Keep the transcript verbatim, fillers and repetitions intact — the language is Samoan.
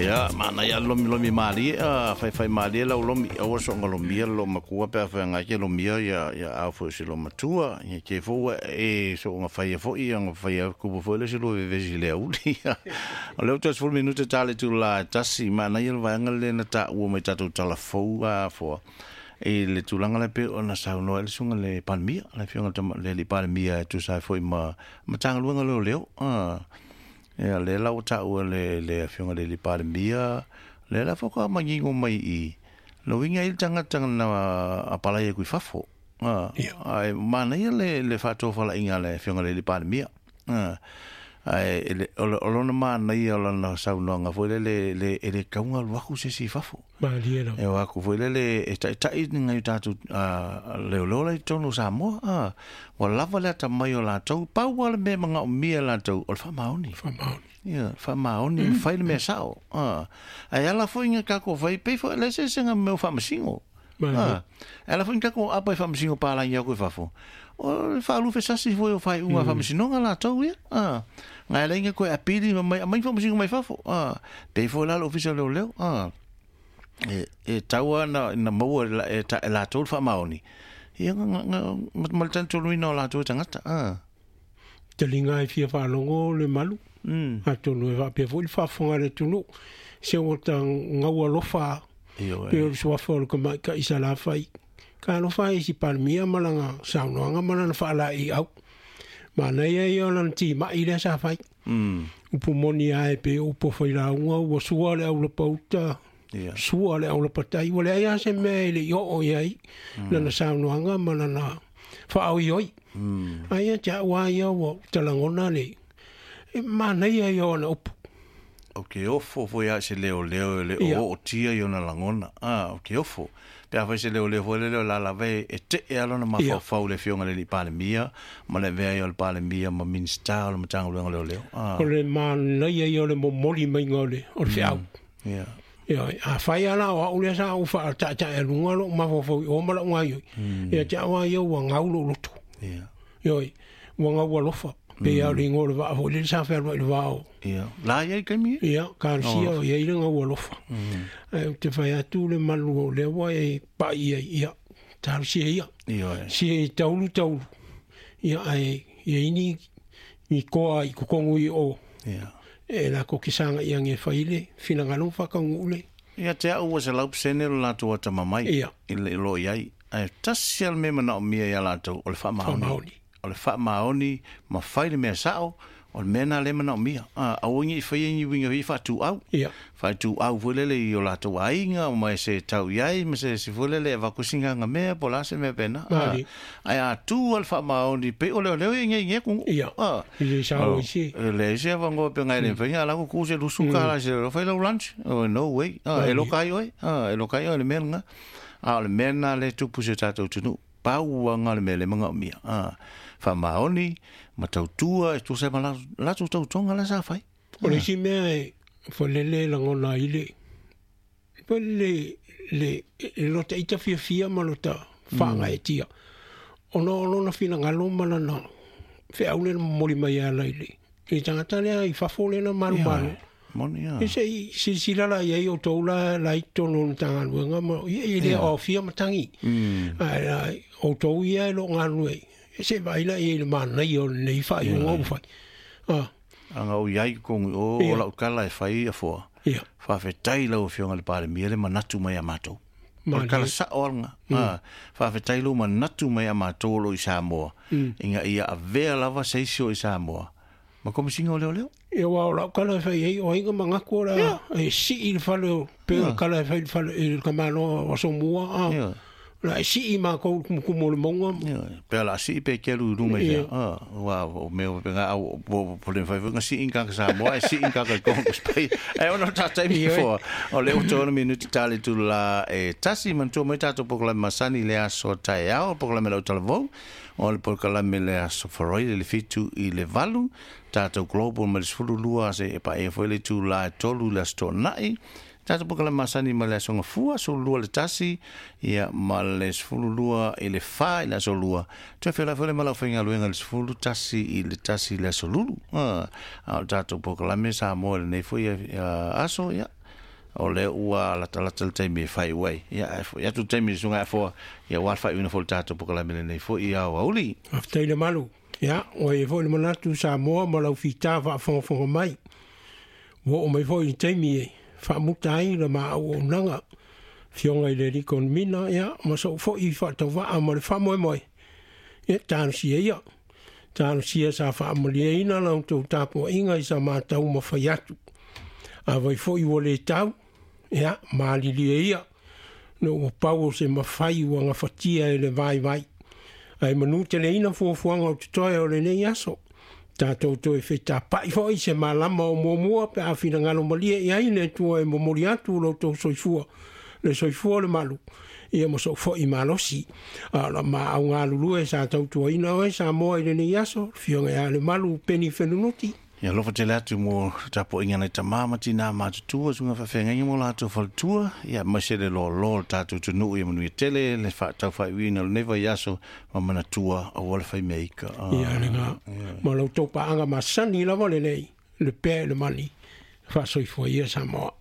Ia, manaia le lomilomi malie, a faifai malie lau lomi, aua so'oga lomia le loomatua pe afai agai ke lomia ia ia au foi se loomatua, ia ke foi ua e so'oga faia fo'i aga faia kupu foi le se lua vevesi i le auli. O lea ua toe sefulu minute ta le itulā e tasi, manaia le vaega lea na ta'ua mai tatou talafou a foa i le tulaga lea pei ona saunoa ai le susuga i le Palemia, le Afioga i le alii Palemia e tusa ai foi ma Matagaluega o Leoleo. A ia lea la ua ta'ua le le Afioga i le alii Palemia, lea la faatoa manino mai i le uiga e i ai le tagata na apalai atu i fafo. A ae manaia le le faatofalaiga a le Afioga i le alii Palemia. A ae o lona manaia o lana saunoaga foi lele le e le tatau ona alu atu se isi i fafo. Malie lava. E o atu foi lele e taitai ni nai o tatou leoleo la i totonu o Samoa. A ua lava le atamai o latou, pau lava le mea e manaomia e latou o le faamaoni. Faamaoni. Ia, faamaoni ma fai le mea sao. A ae ala foi ina tatou fai, pei foi o le eseesega ma mea o faamasino. A e ala foi ina tatou aapa i faamasino palagi atu i fafo, o le faalupe sasi foi o faaiuga a faamasinoga latou ia. A na e ala ai ona toe apili ma mai aumai faamasino mai fafo. A pei foi la le Ofisa o Leoleo. A e, e tau lava ina maua e, e latou le faamaoni, ia ma le talitonuina o latou e tagata. A taliga e fia faalogo le malu, mm. atonu e faapea foi le faafofoga a le atunuu, se ua ta gau alofa Ioe. pei o le suafa o le tamaitai Salafai. Ka alofa ai i si Palemia ma lana saunoaga ma lana faalaeiau. Manaia ia o lana timai lea sa fai. Mm. Upu moni lava e pei o upu o failauga, ua sua le aulapauta, Ia. sua le aulapatai, ua leai lava se mea e le i oo i ai lana saunoaga ma lana faaoioi. Mm. Ai ia te au lava ia ua talagona le e manaia ia o ana upu. O ke ofo foi a se leoleo e le Ia. o ootia i ona lagona. A, o ke ofo. Pe afai se leoleo foi lele o la lava e e te'e lava lona Ia. mafaufau i le Afioga i le Alii Palemia ma le avea ai o le Palemia ma Minisita o le Matagaluega o Leoleo. A, O le manaia ia o le momoli maiga o le, o le feau. ia. Ia, afai lava la o au lea sa ou faataetaealuga lou mafaufau i o ma lau gaoioi, ia te au lava ia ua gau lou loto. Ia. Ioe, ua gau alofa. Pei lava o le igoa o le vaa foi lele sa fealuai i le va o Ia. La i ai taimi e? ia, Kalosia o i ai le gau alofa. Ae ou te fai atu le malu o lea ua e pai ai, ia, talosia ia. Ioe. Sia i taulu taulu. Ia, ae ia i ni, ni koa i totonu i o. Ia. E latou te saga ia e fai le finagalo ma faataunuu le. Ia te au ua selau pasene lo latou atamamai Ia. i le lo i ai. Ae tasi lava le mea manaomia ia latou o le faamaoni. Faamaoni. O le faamaoni ma fai le mea sa'o, o le mea lena lea e manaomia. A, aua ne i faia ni uiga foi faatuau. Ia. Faatuau foi lele i o latou aiga ma se tau i ai ma se isi foi lele e avatu si gaga mea po o le a se mea pena. A, Malie. ae a tu lava le faamaoni pei o leoleo e igeige atu. Ia. A, I le sao i se. e leai se avanoa pe ngai le mafai, a la ku ku se lusu ka la se leoleo, fai lau lunch. Oh, no way. A, e loka ai oe. A, e loka ai oe le mea lena. A o le mea lena lea e tupu i si o tatou atunuu. Pau lava le mea lea e manaomia. A, faamaoni ma tautua e tusa ai ma latou tautoga la sa fai. O le isi mea e falele lagona ai le foi le le le lota ita fiafia ma lota faagaetia ona o lona finagalo ma lana feau lea na momoli mai e ala i le i le tagata lea i fafo lea na malumalo. Moni ia. E se i silasila la i ai outou la la i totonu o le Matagaluega ma ia e le o aofia matagi. Ae la outou ia e lo o galulue ai. E se i vaai la i ai i le manaia o lenei faaiuga ua fai. Ah. Aga o i ai totonu i o, o lau tala e fai afoa. Ia. Faafetai i lau Afioga i le Palemia le manatu mai a matou. O le tala sa'o lava lena. Ah, faafetai lou manatu mai a matou o lo o i Samoa, ina ia avea lava se isi o i Samoa ma Komesina o Leoleo. Ia, aua o lau tala e fai ai, o ai na manatu o le a e sii le fale o, pei o le tala e fai i le fale i le tamaloa o Asomua, a, o le a e sii matou i le kumukumu o le mauga. Ia, pe o le a sii pe kelu i luga i fea. A, aua o mea o pena au, po, po le mafai foi ona sii ni tagata Samoa, ae sii ni tagata i Kongo Spei. Ae ona o tatou taimi foa, o lea ua toa ono minute ta le itula e tasi, manatua mai tatou polokalame masani i le aso taeao, polokalame lau talavou, o le polokalame le aso Faraile i le fitu i le valu, tatou Global mai le sefulu lua seia paia foi le itula e tolu i le aso Toonai, tatou polokalame masani mai le aso Gafua, sefulu lua i le tasi, ia ma le sefulu lua i le fa i le aso Lua, toe feiloai foi le ma le aufaigaluega i le sefulu tasi i le tasi i le aso Lulu. A o le tatou polokalame Samoa i lenei foi aso, ia, O le ua latalata le taimi e faaiu ai. Ia ae fo'i atu le taimi i le susuga ia Afoa, ia aua le faaiuina foi o le tatou polokalame lenei foi i aoauli. Faafetai le malu. Ia, ua i ai foi le manatu Samoa ma lau fita faafogafoga mai. Ua oo mai foi i le taimi e faamuta ai le ma auaunaga. Afioga i le alii Konimina, ia, ma sou foi faatauvaa ma le faamoemoe, ia, talosia ia. Talosia sa faamalieina la outou tapuaiga i sa matau mafai atu. Afai foi ua le tau, ia, malilie ia, ina ua pau o se mafai ua gafatia e le vaivai. Ae manuteleina fuafuaga o totoe o lenei aso. Tatou toe fetapa'i foi i se malama o muamua pe a finagalo malie i ai le Atua e momoli atu lo outou soifua, le soifua o le malu, ia ma sou foi malosi. A o la maau galulue sa tautuaina oe Samoa i lenei aso, le Afioga ia Lemalu Peni Fenunuti. Ia alofa tele atu mo tapuaiga nai tamā ma tinā matutua, susuga faafeagaiga mo latou faletua, ia aemaise le loaloa o le tatou atunuu ia manuia tele le faataufaaiuina o lenei vaiaso ma manatua aua le faimea ika. Ia lena, ma la outou paaga masani lava lenei, le pea i le mani, faasoifua ia Samoa.